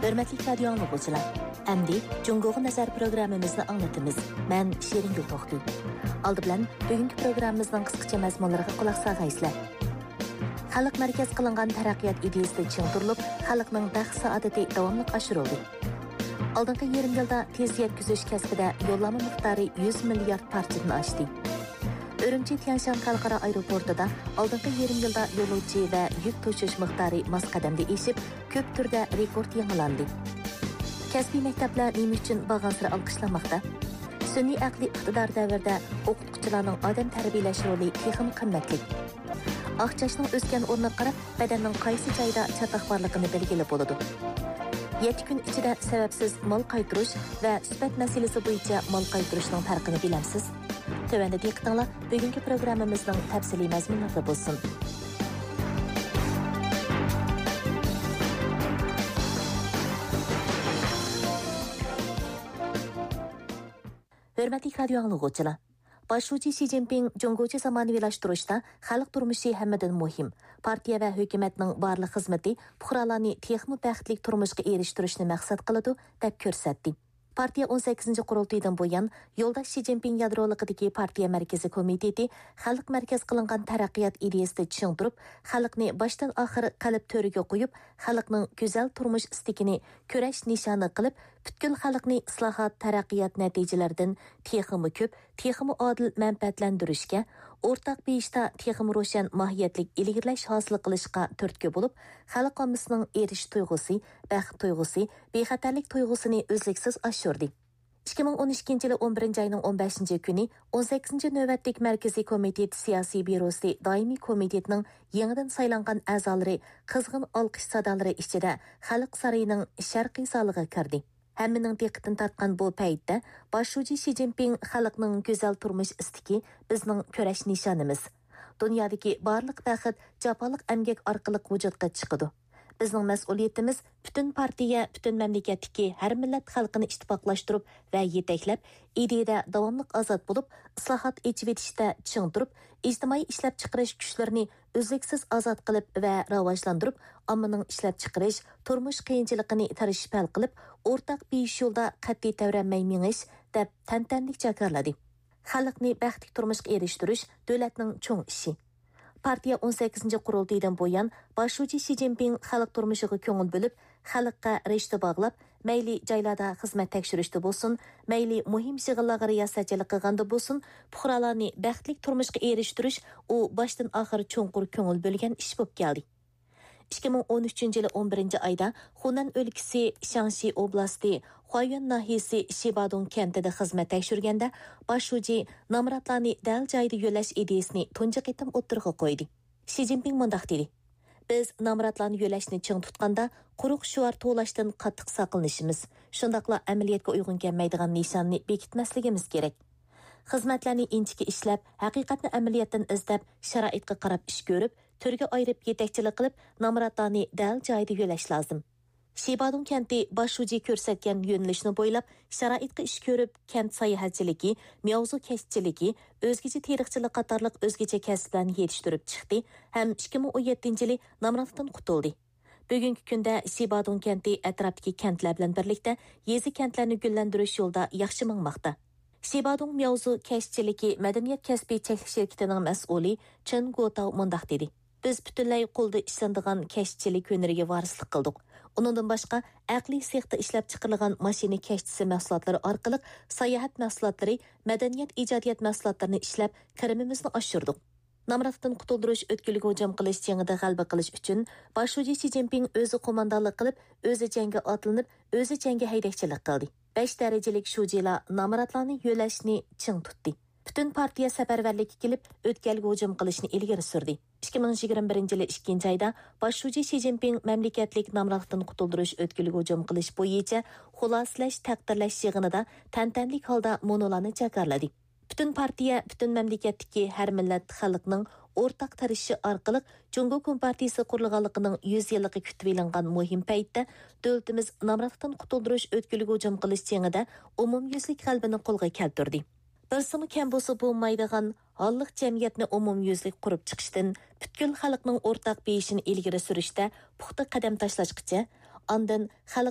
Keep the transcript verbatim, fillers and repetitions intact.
ھۆرمەتلىك رادىيو ئاڭلىغۇچىلار، ئەمدى جۇڭگوغا نەزەر پروگراممىمىزنى ئاڭلىتىمىز. مەن شېرىنگۈل توختى. ئالدى بىلەن بۈگۈنكى پروگراممىمىزنىڭ قىسقىچە مەزمۇنلىرىغا قۇلاق سالغايسىلەر. خەلق مەركەز قىلىنغان تەرەققىيات ئىدىيىسىدە چىڭ تۇرۇلۇپ، خەلقنىڭ بەخت-سائادىتى داۋاملىق ئاشۇرۇلدى. ئالدىنقى يېرىم يىلدا تېز يەتكۈزۈش كەسپىدە يوللانما مىقدارى يۈز مىليارد پارچىدىن ئاشتى. ئۈرۈمچى تيەنشان خەلقئارا ئايروپورتىدا ئالدىنقى يېرىم يىلدا يولۇچى ۋە يۈك توشۇش مىقدارى ماس قەدەمدە ئېشىپ، كۆپ تۈردە رېكورت يېڭىلاندى. كەسپىي مەكتەپلەر نېمە ئۈچۈن بارغانسېرى ئالقىشلانماقتا؟ سۈنئىي ئەقلىي ئىقتىدار دەۋرىدە ئوقۇتقۇچىلارنىڭ ئادەم تەربىيەلەش رولى تېخىمۇ قىممەتلىك. ئاق چاچنىڭ ئۆسكەن ئورنىغا قاراپ، بەدەننىڭ قايسى جايىدا چاتاق بارلىقىنى بىلگىلى بولىدۇ. يەتتە كۈن ئىچىدە سەۋەبسىز مال قايتۇرۇش ۋە سۈپەت مەسىلىسى بويىچە مال قايتۇرۇشنىڭ پەرقىنى بىلەمسىز؟ تۆۋەندە دىققىتىڭلار بۈگۈنكى پروگراممىمىزنىڭ تەپسىلىي مەزمۇنلىرىدا بولسۇن. ھۆرمەتلىك رادىيو ئاڭلىغۇچىلار! باش شۇجى شى جىنپىڭ جۇڭگوچە زامانىۋىلاشتۇرۇشتا خەلق تۇرمۇشى ھەممىدىن مۇھىم، پارتىيە ۋە ھۆكۈمەتنىڭ بارلىق خىزمىتى پۇقرالارنى تېخىمۇ بەختلىك تۇرمۇشقا ئېرىشتۈرۈشنى مەقسەت قىلىدۇ، دەپ كۆرسەتتى. پارتىيە ئون سەككىزىنچى قۇرۇلتىيىدىن بۇيان، يولداش شى جىنپىڭ يادرولۇقىدىكى پارتىيە مەركىزىي كومىتېتى خەلق مەركەز قىلىنغان تەرەققىيات ئىدىيەسىدە چىڭ تۇرۇپ، خەلقنى باشتىن ئاخىر قەلب تۆرىگە قويۇپ، خەلقنىڭ گۈزەل تۇرمۇش ئىستىكىنى كۈرەش نىشانى قىلىپ، پۈتكۈل خەلقنى ئىسلاھات، تەرەققىيات نەتىجىلىرىدىن تېخىمۇ كۆپ، تېخىمۇ ئادىل مەنپەئەتلەندۈرۈشكە، ئورتاق بېيىشتا تېخىمۇ روشەن ماھىيەتلىك ئىلگىرىلەش ھاسىل قىلىشقا تۈرتكە بولۇپ، خەلق ئاممىسىنىڭ ئېرىشىش تۇيغۇسى، بەخت تۇيغۇسى، بىخەتەرلىك تۇيغۇسىنى ئۈزلۈكسىز ئاشۇردى. ئىككى مىڭ ئون ئىككىنچى يىلى ئون بىرىنچى ئاينىڭ ئون بەشىنچى كۈنى ئون سەككىزىنچى نۆۋەتلىك مەركىزىي كومىتېت سىياسىي بيۇروسى دائىمىي كومىتېتىنىڭ يېڭىدىن سايلانغان ئەزالىرى قىزغىن ئالقىش سادالىرى ئىچىدە خەلق سارىيىنىڭ شەرقىي زالىغا كىردى. ھەممىنىڭ دىققىتىنى تارتقان بۇ پەيتتە باش شۇجى شى جىنپىڭ خەلقنىڭ گۈزەل تۇرمۇش ئىستىكى بىزنىڭ كۈرەش نىشانىمىز. دۇنيادىكى بارلىق بەخت جاپالىق ئەمگەك ئارقىلىق ۋۇجۇدقا چىقىدۇ. بىزنىڭ مەسئۇلىيىتىمىز پۈتۈن پارتىيە، پۈتۈن مەملىكەتتىكى ھەر مىللەت خەلقىنى ئىتتىپاقلاشتۇرۇپ ۋە يېتەكلەپ، ئىدىيىدە داۋاملىق ئازاد بولۇپ، ئىسلاھات، ئېچىۋېتىشتە چىڭ تۇرۇپ، ئىجتىمائىي ئىشلەپچىقىرىش كۈچلىرىنى ئۈزلۈكسىز ئازاد قىلىپ ۋە راۋاجلاندۇرۇپ، ئاممىنىڭ ئىشلەپچىقىرىش، تۇرمۇش قىيىنچىلىقىنى تىرىشىپ ھەل قىلىپ، ئورتاق بېيىش يولىدا قەتئىي تەۋرەنمەي مېڭىش، دەپ تەنتەنىلىك جاكارلىدى. خەلقنى بەختلىك تۇرمۇشقا ئېرىشتۈرۈش دۆلەتنىڭ چوڭ ئىشى. پارتىيە ئون سەككىزىنچى قۇرۇلتىيىدىن بۇيان، باش شۇجى شى جىنپىڭ خەلق تۇرمۇشىغا كۆڭۈل بۆلۈپ، خەلققە رىشتە باغلاپ، مەيلى جايلاردا خىزمەت تەكشۈرۈشتە بولسۇن، مەيلى مۇھىم يىغىنلارغا رىياسەتچىلىك قىلغاندا بولسۇن، پۇقرالارنى بەختلىك تۇرمۇشقا ئېرىشتۈرۈش ئۇ باشتىن ئاخىر چوڭقۇر كۆڭۈل بۆلگەن ئىش بولۇپ كەلدى. ئىككى مىڭ ئون ئۈچىنچى يىلى ئون بىرىنچى ئايدا خۇنەن ئۆلكىسى شياڭشى ئوبلاستى خۇايۈەن ناھىيەسى شىبادۇڭ كەنتىدە خىزمەت تەكشۈرگەندە، باش شۇجى نامراتلارنى دەل جايىدا يۆلەش ئىدىيىسىنى تۇنجى قېتىم ئوتتۇرىغا قويدى. شى جىنپىڭ مۇنداق دېدى: بىز نامراتلارنى يۆلەشنى چىڭ تۇتقاندا، قۇرۇق شوئار توۋلاشتىن قاتتىق ساقلىنىشىمىز، شۇنداقلا ئەمەلىيەتكە ئۇيغۇن كەلمەيدىغان نىشاننى بېكىتمەسلىكىمىز كېرەك. خىزمەتلەرنى ئىنچىكە ئىشلەپ، ھەقىقەتنى ئەمەلىيەتتىن ئىزدەپ، شارائىتقا قاراپ ئىش كۆرۈپ، تۈرگە ئايرىپ يېتەكچىلىك قىلىپ، نامراتلارنى دەل جايىدا يۆلەش لازىم. شىبادۇڭ كەنتى باش شۇجى كۆرسەتكەن يۆنىلىشنى بويلاپ، شارائىتقا ئىش كۆرۈپ، كەنت ساياھەتچىلىكى، مياۋزۇ كەشتىچىلىكى، ئۆزگىچە تېرىقچىلىق قاتارلىق ئۆزگىچە كەسىپلەرنى يېتىشتۈرۈپ چىقتى ھەم ئىككى مىڭ ئون يەتتىنچى يىلى نامراتلىقتىن قۇتۇلدى. بۈگۈنكى كۈندە شىبادۇڭ كەنتى ئەتراپتىكى كەنتلەر بىلەن بىرلىكتە يېزا، كەنتلەرنى گۈللەندۈرۈش يولىدا ياخشى ماڭماقتا. شىبادۇڭ مياۋزۇ كەشتىچىلىكى مەدەنىيەت كەسپى چەكلىك شىركىتىنىڭ مەسئۇلى چېن گوتاۋ مۇنداق دېدى: بىز پۈتۈنلەي قولدا ئىشلىنىدىغان كەشتىچىلىك ھۈنىرىگە ۋارىسلىق قىلدۇق. ئۇنىڭدىن باشقا، ئەقلىي سېختا ئىشلەپچىقىرىلغان ماشىنا كەشتىسى مەھسۇلاتلىرى ئارقىلىق ساياھەت مەھسۇلاتلىرى، مەدەنىيەت ئىجادىيەت مەھسۇلاتلىرىنى ئىشلەپ، كىرىمىمىزنى ئاشۇردۇق. نامراتلىقتىن قۇتۇلدۇرۇش ئۆتكىلىگە ھۇجۇم قىلىش جېڭىدە غەلىبە قىلىش ئۈچۈن، باش شۇجى شى جىنپىڭ ئۆزى قوماندانلىق قىلىپ، ئۆزى جەڭگە ئاتلىنىپ، ئۆزى جەڭگە ھەيدەكچىلىك قىلدى. بەش دەرىجىلىك شۇجىلار نامراتلارنى يۆلەشنى چىڭ تۇتتى. پۈتۈن پارتىيە سەپەرۋەرلىككە كېلىپ، ئۆتكەلگە ھۇجۇم قىلىشنى ئىلگىرى سۈردى. ئىككى مىڭ يىگىرمە بىرىنچى يىلى ئىككىنچى ئايدا باش شۇجى شى جىنپىڭ مەملىكەتلىك نامراتلىقتىن قۇتۇلدۇرۇش ئۆتكىلىگە ھۇجۇم قىلىش بويىچە خۇلاسىلەش، تەقدىرلەش يىغىنىدا تەنتەنىلىك ھالدا مۇنۇلارنى جاكارلىدى. پۈتۈن پارتىيە، پۈتۈن مەملىكەتتىكى ھەر مىللەت خەلقنىڭ ئورتاق تىرىشىشى ئارقىلىق جۇڭگو كومپارتىيىسى قۇرۇلغانلىقىنىڭ يۈز يىللىقى كۈتۈۋېلىنغان مۇھىم پەيتتە، دۆلىتىمىز نامراتلىقتىن قۇتۇلدۇرۇش ئۆتكىلىگە ھۇجۇم قىلىش جېڭىدە ئومۇميۈزلۈك غەلىبىنى قولغا كەلتۈردى. بىرسىمۇ كەم بولسا بولمايدىغان ھاللىق جەمئىيەتنى ئومۇميۈزلۈك قۇرۇپ چىقىشتىن، پۈتكۈل خەلقنىڭ ئورتاق بېيىشىنى ئىلگىرى سۈرۈشتە پۇختا قەدەم تاشلاشقىچە، ئاندىن خەلق